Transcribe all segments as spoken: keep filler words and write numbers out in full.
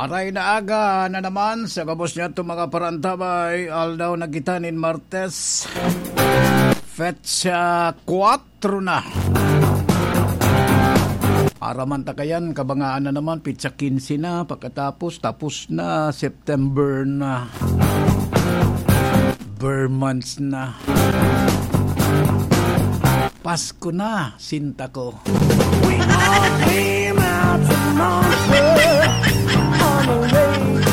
Aray na aga na naman sa gabos niya itong mga parantabay. Aldaw na kita nin Martes. Petsa kwatro na. Araman ta kayan, kabangaan na naman, petsa kinse na, pagkatapos, tapos na, September na. Ber months na. Pasko na, sinta ko. We all came out from nowhere on a rainy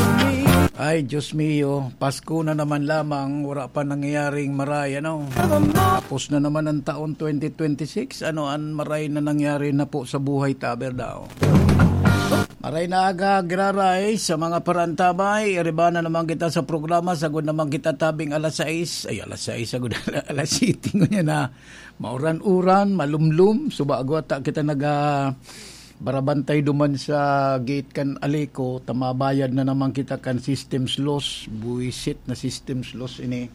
Ay, Diyos mio, Pasko na naman lamang, wala pa nangyayaring maray, ano? Tapos na naman ang taon twenty twenty-six, ano ang maray na nangyari na po sa buhay ta, Berdao? Maray na aga, giraray, sa mga parantabay, iriba na naman kita sa programa, sagod naman kita tabing alas sais, ay, alas sais, sagod alas siyete, ngunyan na, mauran-uran, malumlum, subago ata kita naga, barabantay duman sa gate kan Aleco, ta mabayad na naman kita kan systems loss, buwisit na systems loss ini.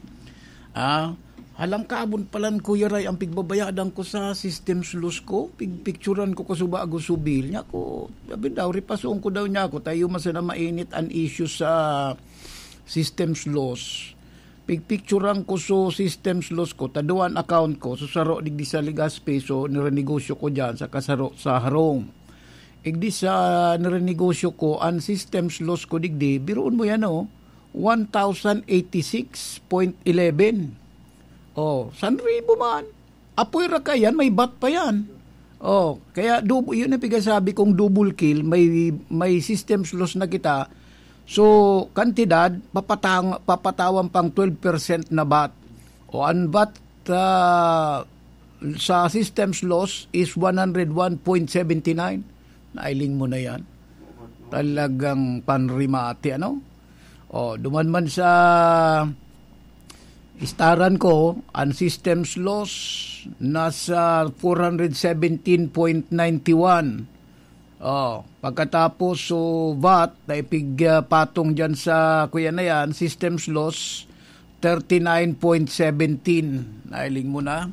Ah, halangkabon palan, Kuya Ray, ang pigbabayadan ko sa systems loss ko, pigpicturan ko ko subago subil niya ko. Sabi daw, ripason ko daw niya ako, tayo man sana mainit an issue sa systems loss. Pigpicturan ko so systems loss ko, ta duwa an account ko, so saro digdi sa Legazpi, so nirenegosyo ko diyan, saka saro sa harong. Igdi sa nirenegosyo ko, an systems loss ko digdi, biruon mo yan, oh, one thousand eighty-six point eleven. Oh, san ribo man. Apoy ra ka yan, may vat pa yan. Oh, kaya dub-, yun ang pigasabi kong double kill, may, may systems loss na kita. So, kantidad, papatang-, papatawan pang twelve percent na vat. O, ang vat, ah, sa systems loss is one hundred one point seventy nine. Nailing mo na yan. Talagang panrimate, ano? O, duman man sa istaran ko, ang systems loss nasa four hundred seventeen point nine one. Oh, pagkatapos, so, vat, na ipig, ah, patong dyan sa, kuya na yan, systems loss, thirty-nine point seventeen. Nailing mo na?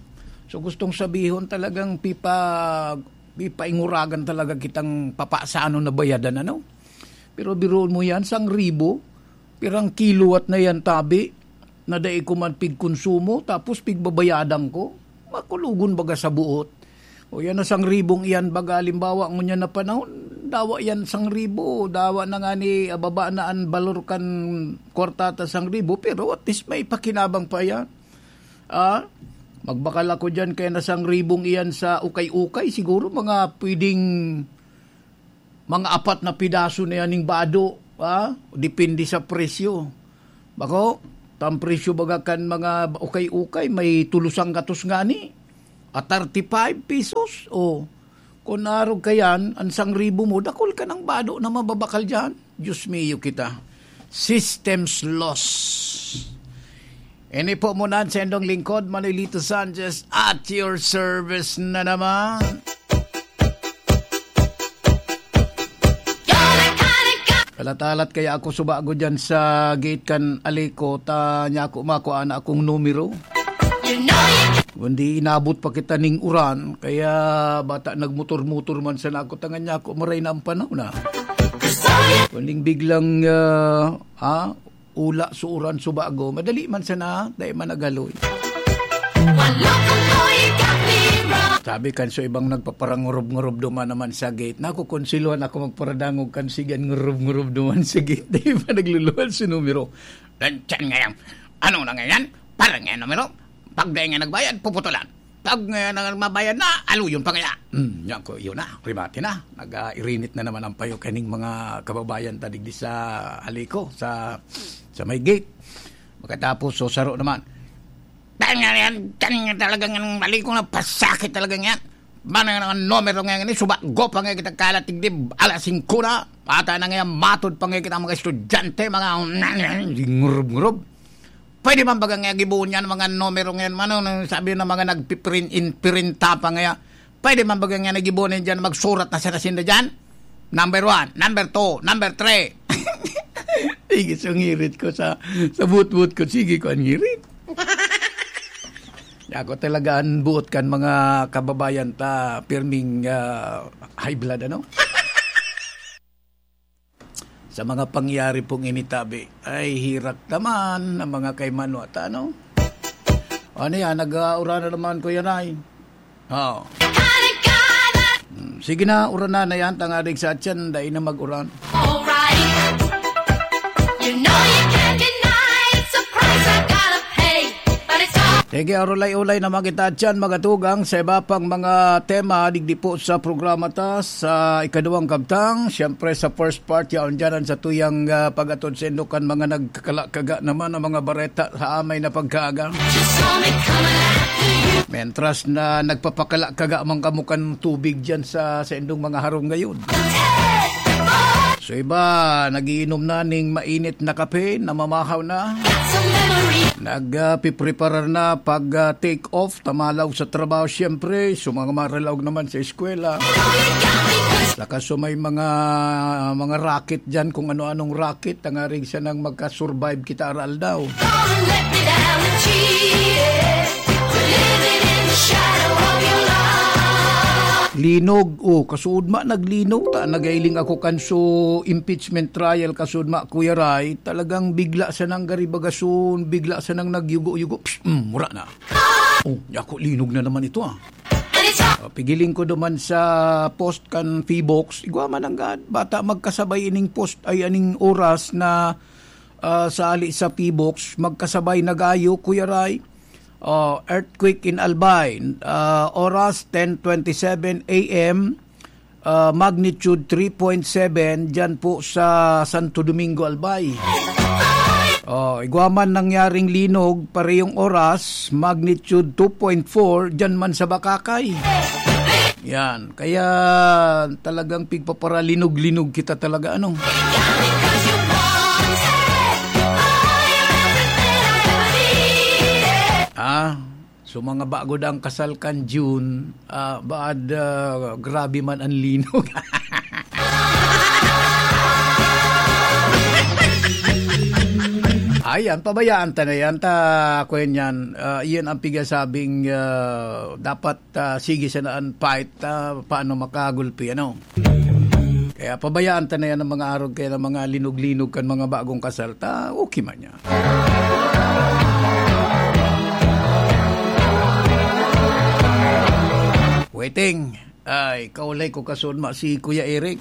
So, gustong sabihon talagang pipa-, pipainguragan talaga kitang papasano na bayadan, ano? Pero biruon mo yan, sang ribo, pirang kilowatt na yan, tabi, na dai ko man pigkonsumo, tapos pigbabayadan ko. Makulogon baga sa buot. O yan na sang ribong iyan, baga halimbawa, ngunyan na panahon, dawa yan sang ribo, dawa na nga ni, ah, baba na an balor kan kwarta ta sang ribo, pero at least may pakinabang pa yan. Ah, magbakal ako dyan, kaya na sang ribong iyan sa ukay-ukay, siguro mga pwedeng mga apat na pidaso na yan ning bado, ah, depende sa presyo. Bako, tang presyo baga kan mga ukay-ukay, may tulos ang gatos ngani, a thirty-five pesos. O, kun arog ka yan, an sang ribo mo, dakul ka ng bado na mababakal dyan. Diyos mio kita. Systems loss. Ini po muna ang sendong lingkod, Manolito Sanchez, at your service na naman. Alat-alat kaya ako subago dyan sa gate kan Aleco, ta niya ako makua na akong numero. Kundi inabot pa kita ning uran, kaya bata nagmotor-motor man sana ako, tangan niya ako, maray na ang panahon na. Kundi biglang, ah, ah, ula, suuran, subago. Madali man sana, dai man nagaloy. Sabi kan so ibang nagpaparangurob-ngurob duman naman sa gate, nakukonsiluhan ako magparadangog kan sigan ngurob-ngurob duman sa gate. Di ba nagluluwal sa numero? Lanchan ngayon. Ano na ngayon? Parang ngayon numero? Pag dai nga nagbayad, puputulan. Pag, eh, nang mabayad na, aluyon pa kaya. Hmm, yan ko, yun na, remate na. Nag-irinit na naman ang payo kaning mga kababayan ta digdi sa Aleco, sa, sa may gate. Pagkatapos, so, saro naman. Dahil nga yan, dahil nga talagang yan, Aleco na pasakit talaga yan. Bana nga numero nga yan, subago pa nga kita kalatigdib, alas singko na. Ata na nga yan, matod pa nga kita mga estudyante, mga ngurub-ngurub. Pwede man baga nga gibohon yan, mga numero ngayon, mano, nung sabi ng mga nagpiprint, in, printa pa nga, pwede man baga nga nagibohon yan dyan, magsurat na sila sinda dyan? Number one, number two, number three. Sige, so ngirit ko sa, sa butbut ko, sige ko ang ngirit. Ako talaga ang buot kan mga kababayan ta, pirming, ah, high blood, ano? Sa mga pangyayari pong initabi, ay hirak naman ang mga kaimanwa ta, no? Ano yan? Nag-aura na naman, Kuya Ray? Oo. Hmm, sige na, uranan na yan, tangarig sa atyan, dai na mag-uran. Alright. You know you can't deny it. Surprise, I gotta pay. But it's all Sige, urulay-ulay na mga kita dyan, mga tugang, sa iba pang mga tema, digdi po sa programa ta, sa ikaduwang kabtang. Siyempre, sa first part, yaon dyan ang sa tuyang, ah, pag-atod sa inyo kan mga nagkakalakaga naman ang mga bareta sa amay na pagkaaga. Just saw me coming after you. Mientras na nagpapakalakaga man kamo kan tubig dyan sa, sa indong mga harong ngayon. So iba, nagiinom na ning mainit na kape, namamahaw na. Nagpipreparar na pag, ah, take off, tamalaw sa trabaho, siyempre. So mga maralaog naman sa eskwela. Saka so may mga, mga racket dyan, kung ano-anong racket, tangarig sanang magka-survive kita aral daw. Linog, oh, kasuod ma, naglinog ta. Nagailing ako kan so impeachment trial, kasuod ma, Kuya Ray. Talagang bigla sanang garibagason, bigla sanang nagyugo-yugo. Psst, mm, mura na. Oh, ako linog na naman ito, ah. Ah, pigiling ko duman sa post kan Phivolcs. Igwa man nanggad, bata magkasabay ining post, ay aning oras na, ah, sa ali sa Phivolcs, magkasabay nagayo, Kuya Ray. Oh, earthquake in Albay. Ah, oras, ten twenty-seven A M. Ah, magnitude three point seven dyan po sa Santo Domingo, Albay. Oh, igwa man nangyaring linog, parehong oras, magnitude two point four dyan man sa Bacacay. Yan. Kaya talagang pigpaparalinog-linog kita talaga, ano? Ah, so mga bago dang kasal kan June, ah, baad, ah, grabe man ang linog. Ayan, pabayaan ta na yan. Ta, kwen yan. Ah, iyan ang pigasabing, ah, dapat, ah, sige sana ang fight, ah, paano makagulpi, ano? Kaya pabayaan ta na yan ang mga arog, kaya ng mga linog-linog kan mga bagong kasal, ta, okay man yan. Waiting. Ay, kaulay ko kasunma si Kuya Eric.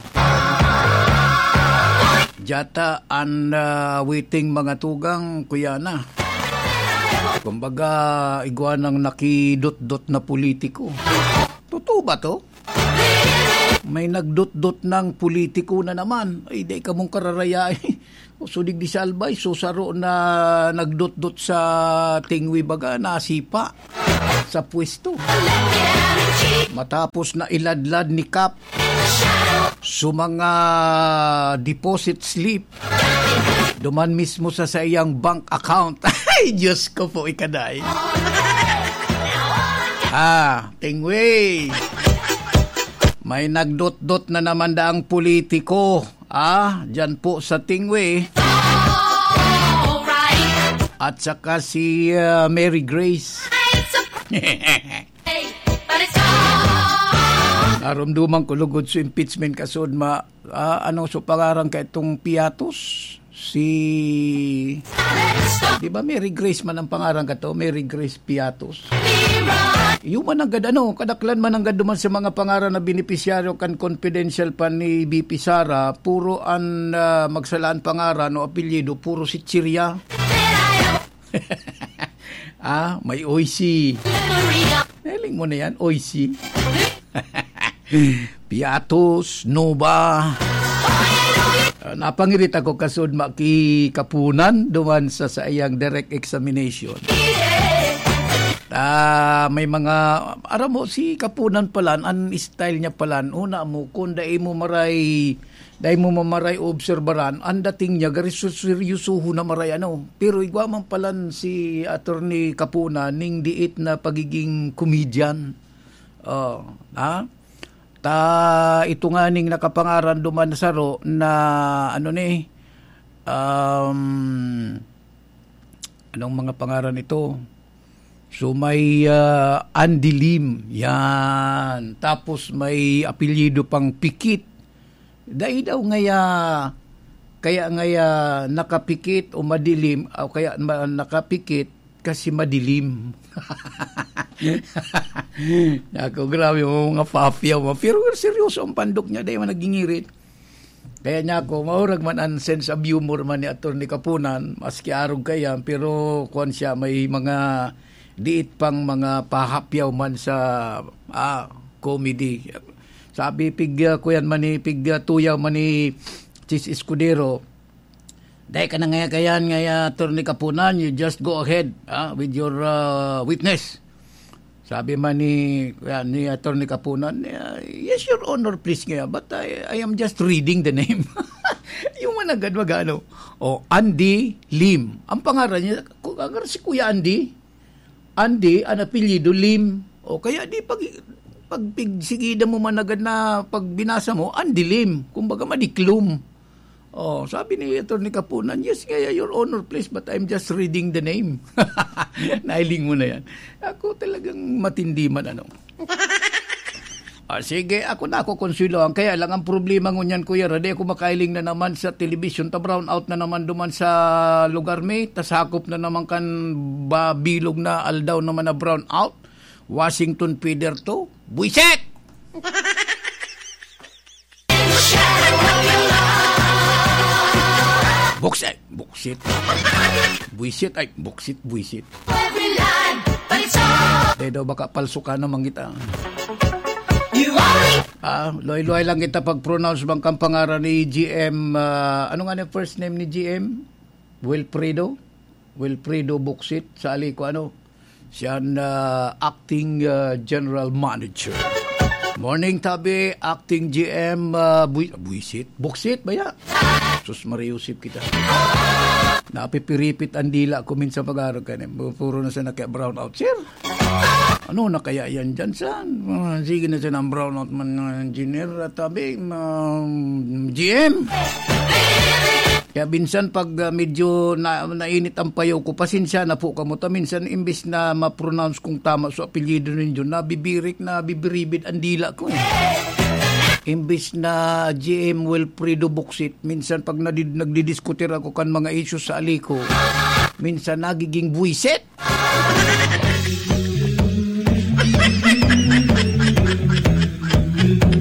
Jata an, ah, waiting mga tugang, kuya na. Kumbaga, igwa nang nakidot-dot na politiko. Totoo ba to? May nagdot-dot ng politiko na naman. Ay, di ka mong kararayay. O, so digdi sa Albay, so saro na nagdot-dot sa tingwi baga, nasipa sa pwesto. Matapos na iladlad ni Kap so mga deposit slip, duman mismo sa saiyang bank account. Ay, Diyos ko po, ikaday. Ah, tingwi. May nagdot-dot na naman daang politiko. Ah, dyan po sa Tingwe. At saka si, ah, Mary Grace. Narumduman ko lugod sa impeachment kasud ma, ah, ano sa pangaran ka itong Piatos? Si, di ba Mary Grace man ang pangaran ka to? Mary Grace Piatos. Iyo man nanggad ano, kadaklan man nanggad duman sa mga pangaran na benepisyaryo kan confidential pa ni V P Sara, puro an, ah, magsalaan pangaran o apelyido, puro si Chiria. Ah, may Oishi. Nahiling mo na yan, Oishi. Piatos, Nova. Ah, napangirit ako kasud ma-, ki Kapunan duman sa saiyang direct examination. Ah, may mga, aram mo, si Kapunan palan, an style niya palan, una mo, kung dai mo maray, dai mo mamaray obserbaran, ang dating niya, gari su-, seryosohon na maray, ano. Pero igwa man palan si Attorney Kapunan, ning diit na pagiging comedian. Oh, ha? Ta, ito nga ning nakapangaran duman saro na, ano ni, um, anong mga pangaran ito? So, may, ah, Andy Lim, yan. Tapos may apelyido pang Pikit. Dai daw ngaya, Kaya ngaya nakapikit o madilim, o kaya ma-, nakapikit kasi madilim. Ako, grabe, mga papyaw, ma-, pero seryoso ang pandok niya, dahil man nagingirit. Kaya niya ako, maurag man ang sense of humor man ni Attorney Kapunan, maski arog kaya, pero kuwan siya, may mga diit pang mga pahapyaw man sa, ah, comedy. Sabi, pig, ah, kuyan man ni, pig, ah, tuyaw man ni Chis Escudero, "Dai ka na ngaya kayan, ngaya, Attorney Kapunan, you just go ahead, ah, with your, ah, witness." Sabi man ni, yan, ni Attorney Kapunan, "Ah, yes, Your Honor, please ngaya, but I, I am just reading the name." Yung managad mag-ano, "Oh, Andy Lim." Ang pangaran niya, ku-, ang si Kuya Andy, Andy, ang apelyido Lim. O kaya di pag, pag pigsigidan mo managad na pag binasa mo, Andy Lim. Kumbaga, madiklom. Oh, sabi ni Attorney Kapunan, "Yes, ngaya, Your Honor, please, but I'm just reading the name." Nailing mo na yan. Ako talagang matindi man, ano. Ah, sige, ako na ako, Consuelo. Ang kaya lang ang problema ngunyan, Kuya Ra, di ako makailing na naman sa television. Ta brown out na naman duman sa lugar mi. Ta sakop na naman kan ba bilog na aldaw naman na brown out. Washington Feather to. Buisit! Buksit, buksit. Buisit, ay, buksit, buisit. Every line, but it's all Dahil daw baka palso ka naman kita. You only Ah, luhay-luhay lang kita pag-pronounce bang kang pangaran ni G M, ah, ano nga ni first name ni G M? Wilfredo? Wilfredo Buksit sa Alico, ano? Siya ang, ah, acting, ah, general manager. Morning, tabi, acting G M, ah, Bui-, Buisit? Buksit ba ya? Sus, Maria Josep kita. Napipiripit ang dila ko minsan pag-arog ka niya. Puro na siya naka-brown out. Sir, ano na kaya yan dyan, saan? Ah, sige na siya ng brown out man, ah, engineer. At tabi, um, G M. Kaya minsan pag, ah, medyo na, nainit ang payo ko, pasensya na po kamo. Ta minsan imbis na ma-pronounce kong tama sa apelyido ninyo, nabibirik, nabibiribid ang dila ko, eh. Imbis na G M Wilfredo Buksit, minsan pag nadi-, nagdidiskutir ako kan mga issues sa Alico, minsan nagiging buwisit.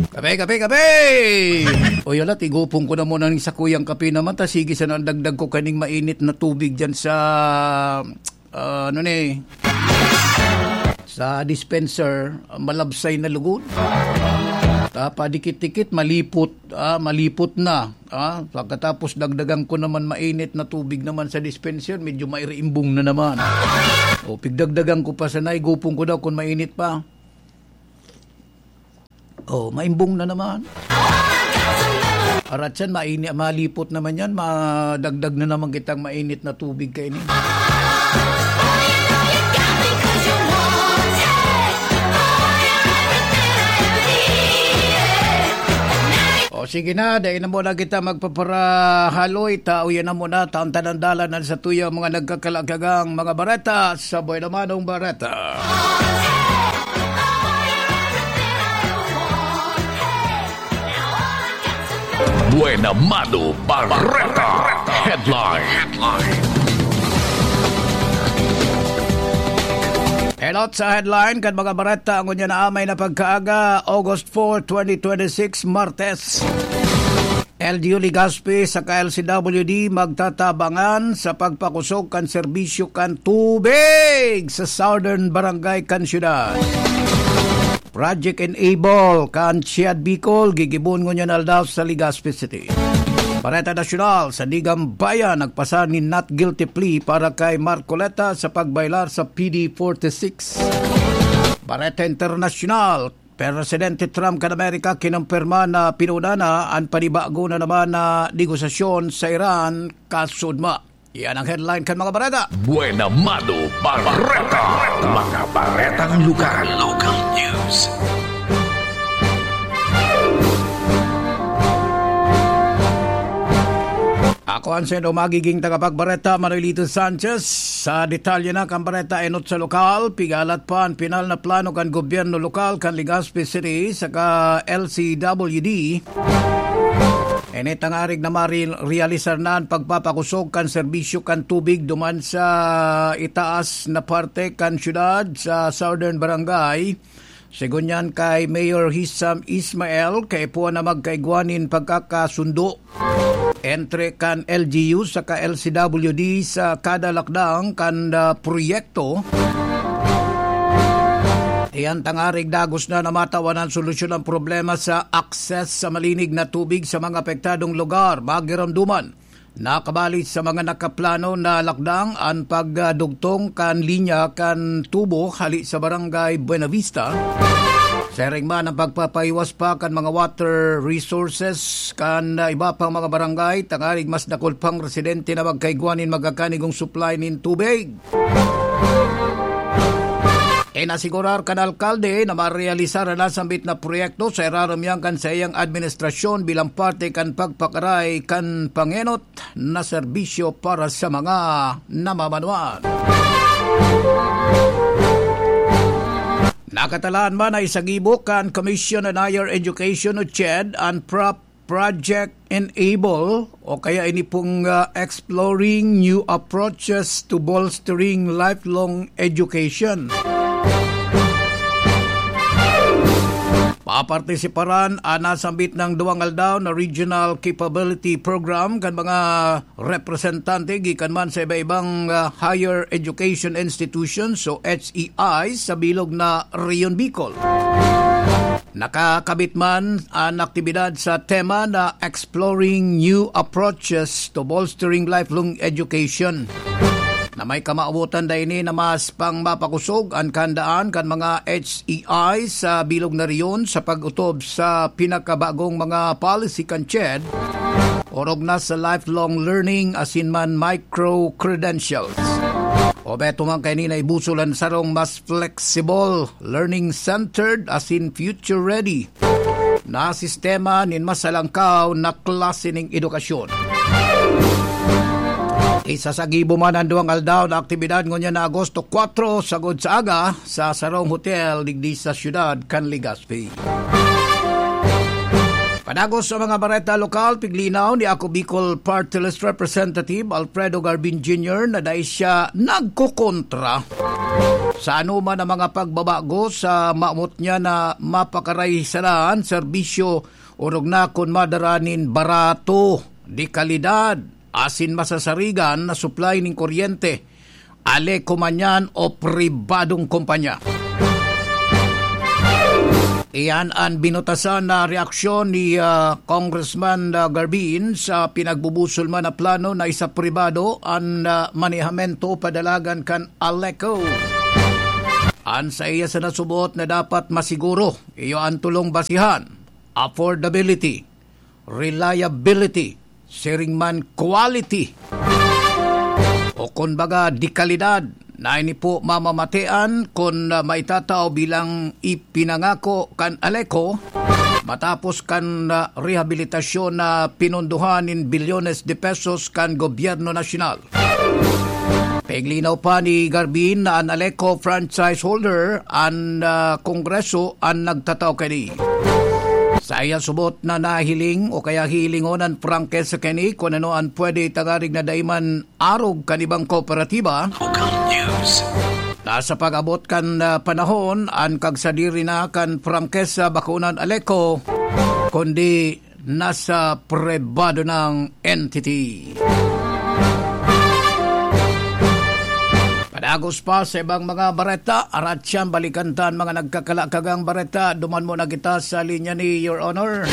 Kape, kape, kape! O, yala, tigupon ko na muna ng sakuyang kape naman, ta sige sana ang dagdag ko kaning mainit na tubig dyan sa, ah, ano ni, sa dispenser, malabsay na lugod. Ta padikit-dikit, malipot, ah, malipot na. Ah, pagkatapos dagdagan ko naman mainit na tubig naman sa dispenser, medyo mairiimbong na naman. O, pigdagdagan ko pa sana, igupon ko daw kung mainit pa. O, maimbong na naman. Arat yan, maini-, malipot naman yan, madagdag na naman kitang mainit na tubig kaini. O, sige na, dai na muna kita magpaparahaloy. Taoyan na muna, tantanan dalan sa tuyo, mga nagkakalakagang mga bareta sa Buena Manong Bareta. Buena Mano Bareta. Headline. Helot sa headline kan mga bareta ngunyan na amay na pagkaaga, August four, twenty twenty-six, Martes. L G U Legazpi saka L C W D magtatabangan sa pagpakusog kan serbisyo kan tubig sa Southern Barangay kan syudad. Project Enable kan Ciad Bicol, gigibon ngunyan aldaw sa Legazpi City. Bareta Nasyonal, Sandigan Bayan nagpasa nin not guilty plea para kay Marcoleta sa pagbayolar sa P D forty-six. Bareta Internasyonal, Presidente Trump kan Amerika kinumpirma na pinuna na an panibago na naman na negosasyon sa Iran kasudma. Iyan ang headline kan mga bareta. Buena Mano Bareta. Mga baretang lugar. Local news. Ako ang sendo magiging tagapagbareta, Manuelito Sanchez. Sa detalye na kan bareta enot sa lokal, pigalat pa ang pinal na plano kan gobyerno lokal kan Legazpi City saka L C W D. Ini tangarig na marealisar na an pagpapakosog kan serbisyo kan tubig duman sa itaas na parte kan syudad sa Southern Barangay. Sigon niyan kay Mayor Hisham Ismail, kaipuhan na magkaigwa nin pagkakasundo entre kan L G U saka L C W D sa kada lakdang kan, ah, proyekto. Iyan tangarig dagos na na matawan an solusyon ang problema sa akses sa malinig na tubig sa mga apektadong lugar. Magiramduman, nakabali sa mga nakaplano na lakdang an pagdugtong kan linya kan tubo hali sa Barangay Buenavista. Siring man ang pagpapahiwas pa kan mga water resources kan, ah, iba pang mga barangay, tangarig mas dakul pang residente na magkaigwa nin magakanigong supply nin tubig. Inasigurar kan alkalde na marealisar an nasambit na proyekto sa irarom niyan kan saiyang administrasyon bilang parte kan pagpakaray kan pangenot na serbisyo para sa mga namamanuan. Nakatalaan man na isagibo kan Commission on Higher Education o CHED an prop Project Enable o kaya ini pong, ah, Exploring New Approaches to Bolstering Lifelong Education. Papartisiparan an nasambit na duwang aldaw na Regional Capability Program kan mga representante gikan man sa iba-ibang, ah, higher education institutions o H E I sa bilog na Rehiyon Bicol. Nakakabit man an aktibidad sa tema na Exploring New Approaches to Bolstering Lifelong Education, na may kamawotan da ini na mas pang mapakosog an kahandaan kan mga H E I sa bilog na rehiyon sa pag-otob sa pinakabagong mga policy kan CHED, orog na sa lifelong learning asin man micro-credentials. O beto man kaini na ibusol an sarong mas flexible, learning-centered asin future-ready na sistema nin mas alangkaw na klase ning edukasyon. Isasagibo man an duwang aldaw na aktibidad ngunyan na Agosto kwatro, sagod sa aga, sa sarong hotel digdi sa siyudad kan Legazpi. Padagos sa mga bareta lokal, piglinaw ni Ako Bicol Party List Representative Alfredo Garbin Junior na dai siya nagkokontra sa anoman na mga pagbabago sa mamot niya na mapakaray sana an serbisyo, orog na kun madara nin barato, de kalidad, asin masasarigan na supply nin kuryente, Aleco man yan o pribadong kumpanya. Iyan an binutasan na reaksyon ni, ah, Congressman, ah, Garbin sa pinagbubusol man na plano na isapribado an, ah, manehamento padalagan kan Aleco. An saiya sana subot na dapat masiguro, iyo an tolong basihan, affordability, reliability, siring man quality, o kun baga, de kalidad, na ini po mamamatean kun, ah, maitatao bilang ipinangako kan Aleco matapos kan, ah, rehabilitasyon na pinondohan nin bilyones de pesos kan gobyerno nasyonal. Piglinaw pa ni Garbin na an Aleco franchise holder an, ah, Kongreso an nagtatao kaini. Sa iya subot na nahiling o kaya hihilingon an prangkesa kaini kun ano an pwede tangarig na dai man arog kan ibang kooperatiba. Local News. Na sa pag-abot kan, ah, panahon, an kagsadiri na kan prangkesa bako na an Aleco, kundi nasa pribado nang entity. Padagos pa sa ibang mga bareta, aratyan balikan ta an mga nagkakalakagang bareta. Duman muna kita sa linya ni Your Honor.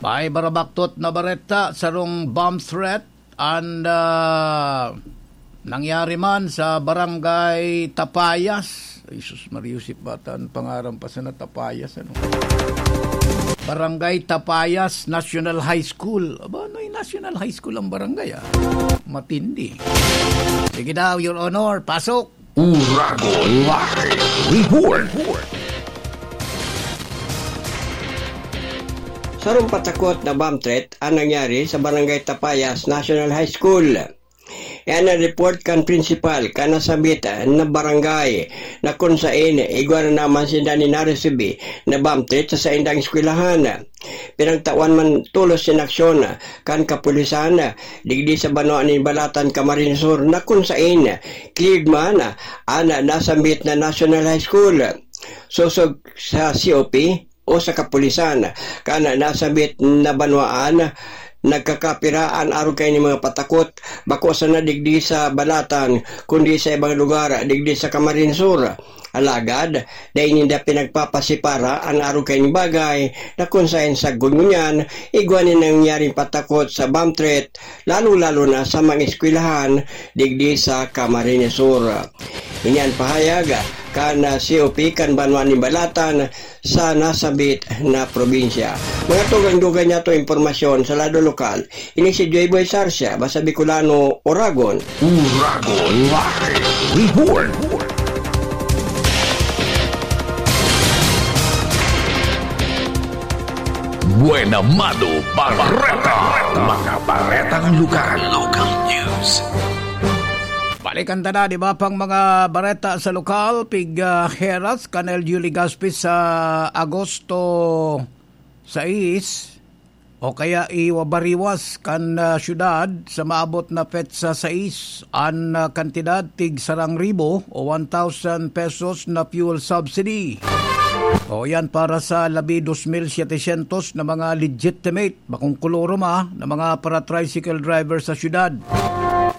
May barabaktot na bareta, sarong bomb threat, and, ah, nangyari man sa Barangay Tapayas. Ay, sus, Maria Josep, bata, ang pangaran pa sana Tapayas, ano? Barangay Tapayas National High School. Aba, ano yung National High School ang barangay, ah? Matindi. Sige daw, Your Honor, pasok. Uragon Live Report. Sarong patakot na bomb threat ang nangyari sa Barangay Tapayas National High School. Yan ang report kan principal kan nasambit na barangay, na kun saen igwa na naman sinda nin naresibi na bomb threat sa saindang eskwelahan. pinagtawan man tolos nin aksyon kan kapulisan digdi sa banwa nin Balatan, Camarines Sur, na kun saen cleared man an nasambit na National High School. Sosog sa C O P o sa kapulisan kan nasambit na banwaan, nagkakapira an arog kaini mga patakot, bako sana digdi sa Balatan, kundi sa ibang lugar digdi sa Camarines Sur. Alagad, dai ninda pinagpapasipara an arog kaining bagay na kun saen sagkod ngunyan, igwa nin nangyaring patakot sa bomb threat, lalo-lalo na sa mga eskwelahan digdi sa Camarines Sur. Ini an pahayag kan, ah, C O P kan banwa nin Balatan sa nasambit na probinsya. Mga tugang-dugang niya to impormasyon sa lado lokal. Ini si Joy Boy Sarsia, basta Bicolano, Oragon. Uragon Live Report. Buena Mano Bareta. Mga baretang lokal. Local news. Balikan ta na, di ba, pang mga bareta sa lokal, pig, ah, heras kan L G U Legazpi sa Agosto sais, o kaya iwabariwas kan, ah, syudad sa maabot na petsa sais an, ah, kantidad tig sarang ribo o one thousand pesos na fuel subsidy. O yan para sa labi dos mil setecientos na mga legitimate, bakong kolorum, ah, na mga para-tricycle driver sa syudad.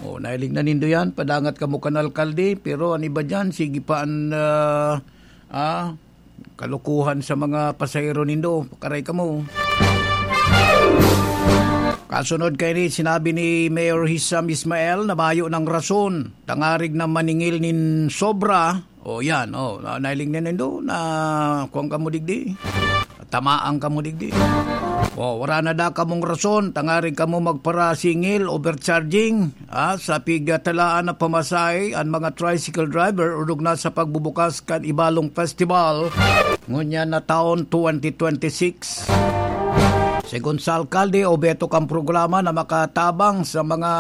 O, nailing na nindo yan, padangat kamo kan alkalde, pero an iba dyan, sige pa an, ah, ah, kalokohan sa mga pasahero nindo. Pakaray kamo. Kasunod kaini, sinabi ni Mayor Hisham Ismail na mayo nang rason, tangarig na maningil nin sobra. O, yan, o, na, nailing na nindo na kuwan kamo digdi. Tamaan kamo digdi. O, wara na da kamong rason, tangarig kamo magparasingil, overcharging, ah, sa pigatalaan na pamasahe an mga tricycle driver, orog na sa pagbubukas kan Ibalong Festival, ngunyan na taon, twenty twenty-six. Segun sa alkalde, obheto kan programa na makatabang sa mga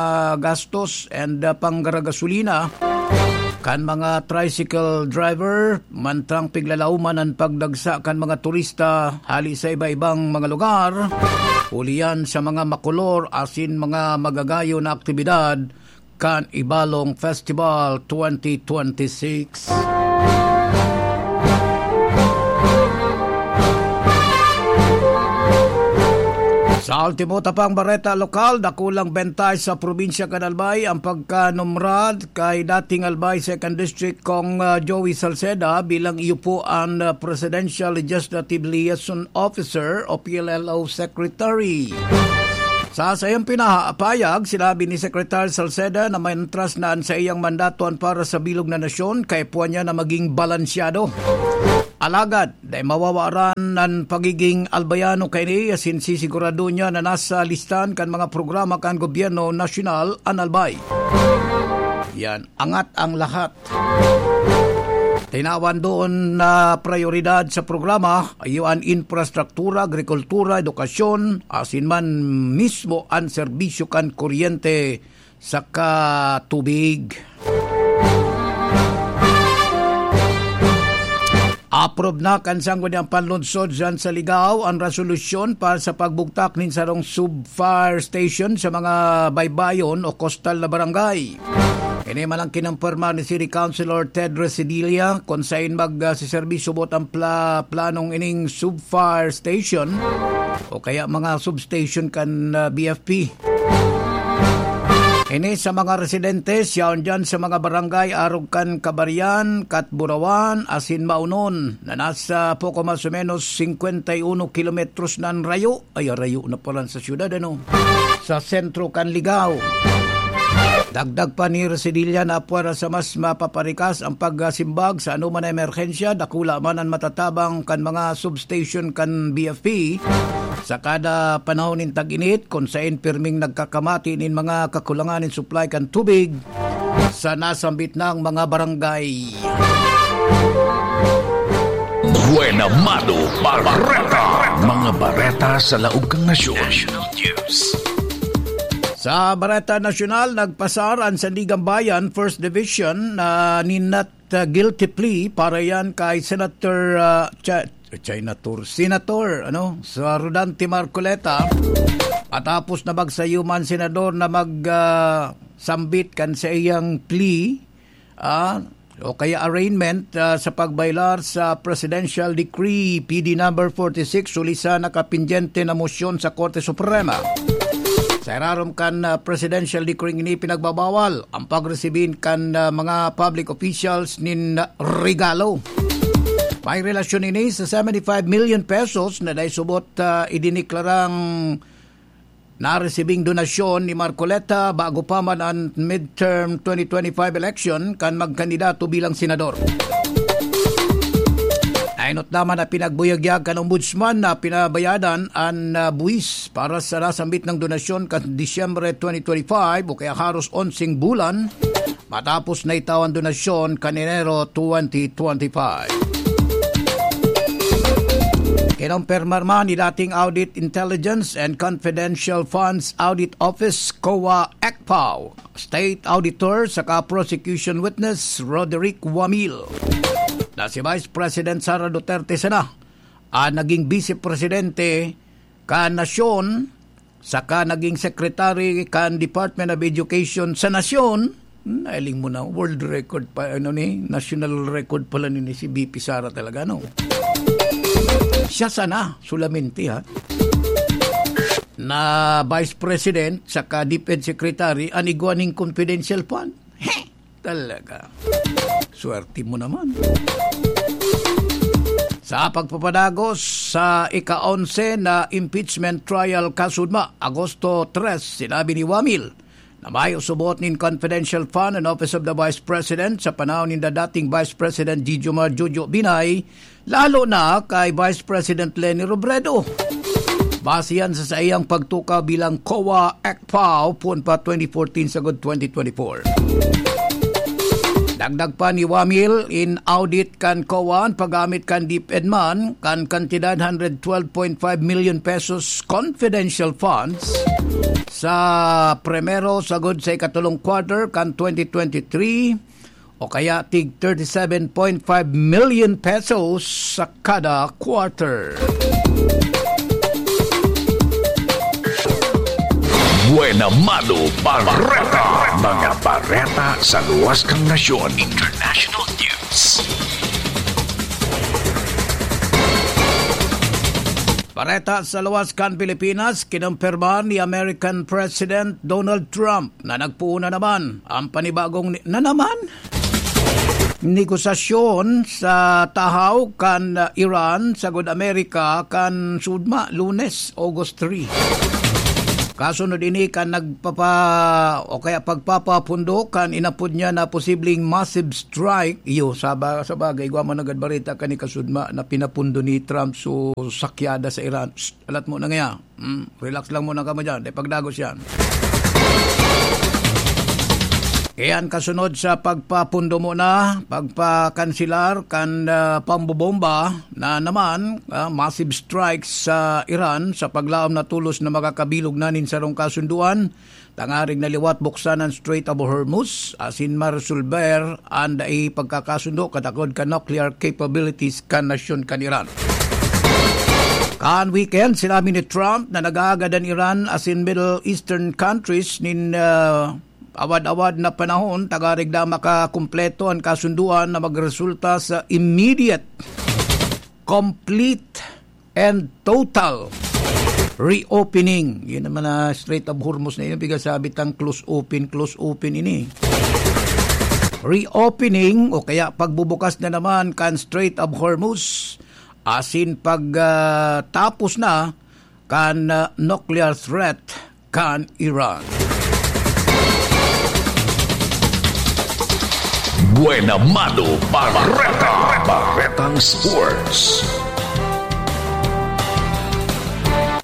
gastos and, ah, panggaragasolina kan mga tricycle driver, mantang piglalauman an pagdagsa kan mga turista hali sa iba-ibang mga lugar, huli yan sa mga makolor asin mga magagayon na aktibidad kan Ibalong Festival twenty twenty-six. Sa ultimo ta pang bareta lokal, dakulang bentahe sa probinsya kan Albay ang pagkanumrad kay dating Albay Second District Cong, ah, Joey Salceda bilang iyo po an, ah, Presidential Legislative Liaison Officer o P L L O Secretary. Sa saiyang pinahapayag, sinabi ni Secretary Salceda na maentras na an saiyang mandato an para sa bilog na nasyon, kaya puwan niya na maging balansyado. Alagad, dai mawawaran an pagiging Albayano kaini, asin sisigurado niya na nasa listahan kan mga programa kan gobyerno nasyonal an Albay. Yan, angat ang lahat. Tinawan doon na prayoridad sa programa, iyo an infrastruktura, agrikultura, edukasyon, asin man mismo an serbisyo kan kuryente saka tubig. Approve na kan Sangguniang Panlungsod diyan sa Ligao an resolusyon para sa pagbugtak nin sarong sub-fire station sa mga baybayon o kostal na barangay. Ini man ang kinumpirma ni City Councilor Ted Residilla, kun sain mag, ah, siserbisyo buot ang pla-, planong ining sub-fire station o kaya mga substation kan, ah, B F P. Ini sa mga residente, yaon diyan sa mga barangay arog kan Cabarian, Catburawan, asin Maonon, na nasa poko mas o menos singkwenta y uno kilometros na an rayo. Ay, rayo na palan sa syudad, ano? Sa sentro kan Ligao. Dagdag pa ni Residilla na pwera sa mas mapaparikas ang pagsimbag sa anoman na emerhensya, dakula man an matatabang kan mga substation kan B F P. Sa kada panahon nin tag-init, kun sain pirming nagkakamati nin mga kakulangan nin supply kan tubig sa nasambit nang mga barangay. Buena Mano Bareta. Mga bareta sa laog kan nasyon. National News. Sa Bareta Nasyonal, nagpasar an Sandiganbayan First Division na ninat, ah, guilty plea para yan kay Senator, ah, Cha-, China Tour. Senator, ano, sa Rodante Marcoleta, matapos na magsayuman senador na mag, ah, sambit kan sa iyang plea, ah, o kaya arraignment, ah, sa pagbaylar sa Presidential Decree P D number forty-six, huli sa nakapindyente na mosyon sa Korte Suprema. Sa irarom kan, ah, Presidential Decree ini, pinagbabawal ang pagresibin kan, ah, mga public officials nin regalo. May relasyon ini sa seventy-five million pesos na dai subot, ah, idiniklarang naresibing donasyon ni Marcoleta bago pa man an midterm twenty twenty-five election kan magkandidato bilang senador. Nainot naman na pinagbuyagyag kan Ombudsman na pinabayadan an, ah, buwis para sa nasambit na donasyon kan Disyembre twenty twenty-five o kaya haros onseng bulan matapos na itawan donasyon kan Enero twenty twenty-five. Kinumpirma man ni dating Audit Intelligence and Confidential Funds Audit Office, COA, ECFAO, State Auditor saka Prosecution Witness Roderick Wamil na si Vice President Sara Duterte sana ang naging Vice Presidente kan nasyon saka naging secretary kan Department of Education sa nasyon. Hmm, nailing mo na, world record pa, ano ni, national record pala ni, ni si V P Sara talaga, no? Siya sana, solamente, ha? Na Vice President saka DepEd Secretary, an igwa ning confidential fund. Heh! Talaga. Swerte mo naman. Sa pagpapadagos sa ika-onse na impeachment trial kasudma, Agosto tres, sinabi ni Wamil na may usubot nin confidential fund an Office of the Vice President sa panahon ninda dating Vice President Jijomar Jojo Binay, lalo na kay Vice President Leni Robredo. Base yan sa saiyang pagtukaw bilang COA ECFAO poon pa twenty fourteen sagod twenty twenty-four. Dagdag pa ni Wamil, in-audit kan COA an paggamit kan DepEd man kan kantidad hundred twelve point five million pesos confidential funds sa primero sagod sa ikatolong quarter kan twenty twenty-three, o kaya tig thirty-seven point five million pesos sa kada quarter. Buena Mano Bareta. Mga bareta sa luwas kan nasyon. International news. Bareta sa luwas kan Pilipinas, kinumpirma ni American President Donald Trump na nagpoon na naman ang panibagong ni-, na naman? Negosasyon sa tahaw kan, uh, Iran sagod Amerika kan sudma, Lunes, August three. Kasunod ini kan nagpapa-, o kaya pagpapapundo kan inapod niya na posibleng massive strike. Iyo, sa ba-, sa bagay, igwa man nagad bareta kan ikasudma na pinapundo ni Trump so sakyada sa Iran. Shh, alat mo na ngaya. Hmm, relax lang muna kamo dyan. Dai pagdagos yan. Iyan kasunod sa pagpapundo muna, pagpakansilar kan, ah, pambobomba na naman, ah, massive strikes sa Iran sa paglaom na tolos na makakabilog na nin sarong kasunduan, tangarig na liwat buksan ang Strait of Hormuz, asin maresolber an dai pagkakasundo katakod kan nuclear capabilities kan nasyon kan Iran. Kan weekend, sinabi ni Trump na nag-aagad an Iran asin Middle Eastern countries nin, ah, awad-awad na panahon, tangarig na makakumpleto an kasunduan na magresulta sa immediate, complete, and total reopening. Yun naman na Strait of Hormuz na yun. Biga sabi tang close open, close open ini. Reopening o kaya pagbubukas na naman kan Strait of Hormuz, asin pag, ah, tapos na kan, ah, nuclear threat kan Iran. Buena Mano Bareta. Baretang Sports.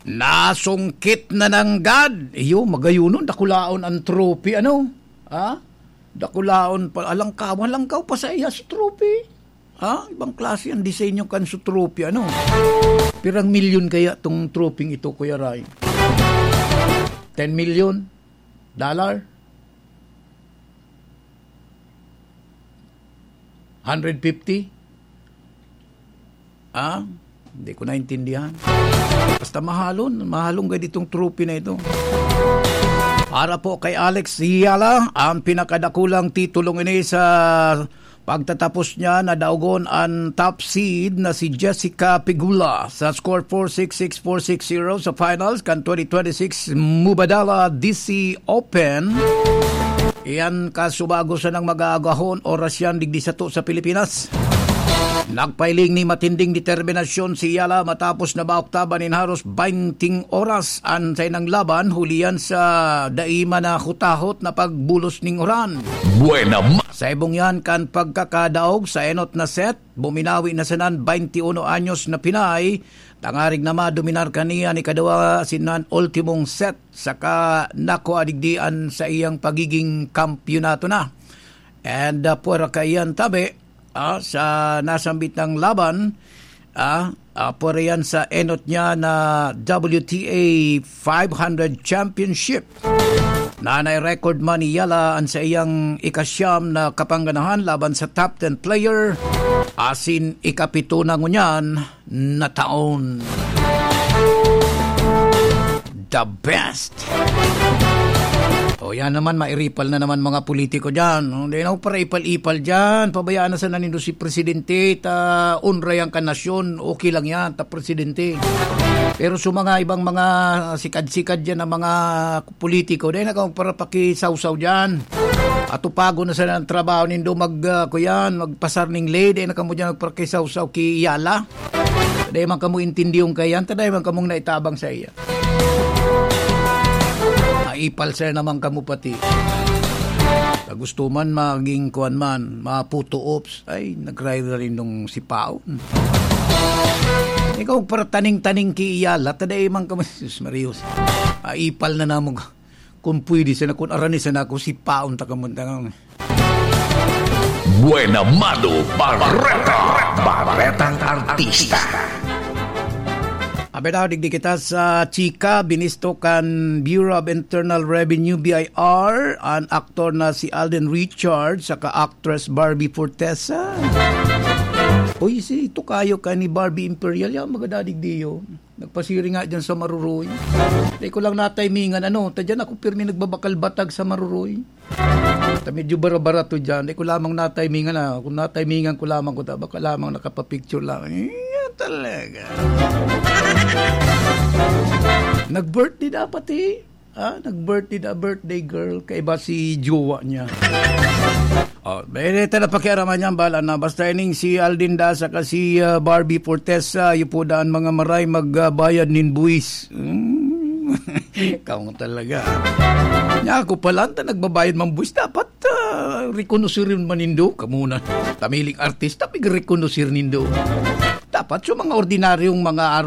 Nasungkit na nanggad. Iyo, magayunon, dakulaon ang trophy, ano? Ha? Dakulaon pa, alangkaw, alangkaw pa sa iya sa trophy. Ha? Ibang klase ang disenyo kan su trophy, ano? Pirang milyon kaya tong trophy ito, Kuya Ray? Ten million dollar? Hundred fifty? Ha? Hindi ko naintindihan. Basta mahalon, mahalon gad itong trophy na ito. Para po kay Alex Yala, ang pinakadakulang titulong ini sa pagtatapos niya na daogon ang top seed na si Jessica Pegula sa score four six six four six zero sa finals kan twenty twenty-six Mubadala D C Open. Iyan kasubago sa nang mag-aagahon oras yan digdi sato sa Pilipinas. Nagpailing ni matinding determinasyon si Yala matapos na maoktaban nin haros bainting oras an sainang laban, huli yan sa dai man na hutahot na pagbulos ning uran. Buena ma- Sa ibong yan kan pagkakadaog sa enot na set, buminawi na sanan bainti uno anyos na Pinay, tangarig na madominar kaniya ni kadwa sinan ultimong set, saka nakua digdi an sa iyang pagiging kampiyonato na. And, ah, pwera kaiyan tabi, ah, sa nasambit na laban, ah, ah, pwera yan sa enot niya na W T A five hundred Championship. Nanay record man ni Yala an sa iyang ikasyam na kapangganahan laban sa top ten player, asin ikapito na ngunyan na taon. The best. O yan naman, mairipal na naman mga politiko dyan. Hindi na para ipal-ipal dyan. Pabayaan na sana nindo si Presidente, ta unray ang kanasyon. Okay lang yan, ta Presidente. Pero sa mga ibang mga sikad-sikad dyan na mga politiko, dahil na kang para pakisawsaw dyan. Atupagon na sana ang trabaho nindo mag, ah, kuyan, magpasar ning lay, dahil na kamo dyan magpakisawsaw ki Yala. Taday man kamo intindiyong kaiyan, taday man kamong naitabang sa iya. Maipal sir naman kamo pati. Sa gusto man, maging kuwan man, maputo ops. Ay, nagrayo na rin nung sipaon. Ikaw, para taning-taning ki Yala, taday man kamo, sus, Marios. Maipal na namog. Kung pwede sana, kung arani sana ako, sipaon ta kamo, tangang. Buena Mano Barreta. Barretang Artista. Abi daw, digdi kita sa chika, binisto kan Bureau of Internal Revenue, B I R, an aktor na si Alden Richards, saka actress Barbie Fortesa. Uy, si Tokayo ka ni Barbie Imperial, yan, magadadig diyo. Nagpasiring nga dyan sa Maruroy. Di ko lang natimingan, ano, ta dyan ako pirmi nagbabakal-batag sa Maruroy. Ta medyo bara-barato dyan. Di ko lamang natimingan, ah. Kung natimingan ko lamang ko, ta baka lamang nakapapicture lang. Iya talaga. Nag-birthday dapat, eh. Ah, nag-birthday na birthday girl. Kaiba si jowa niya. Oh, dahil ito na pakiaraman niya, bahala na. Basta ining si Alden da saka si, ah, Barbie Fortesa, iyo po daan mga maray magbayad nin buwis. Hmm. Ikaw talaga. Nya ako pala, ta nagbabayad man buwis, dapat, ah, rekonoserin man nindo. Kamuna, tamiling artista, pig-rekonoser nindo. Dapat sa mga ordinaryong mga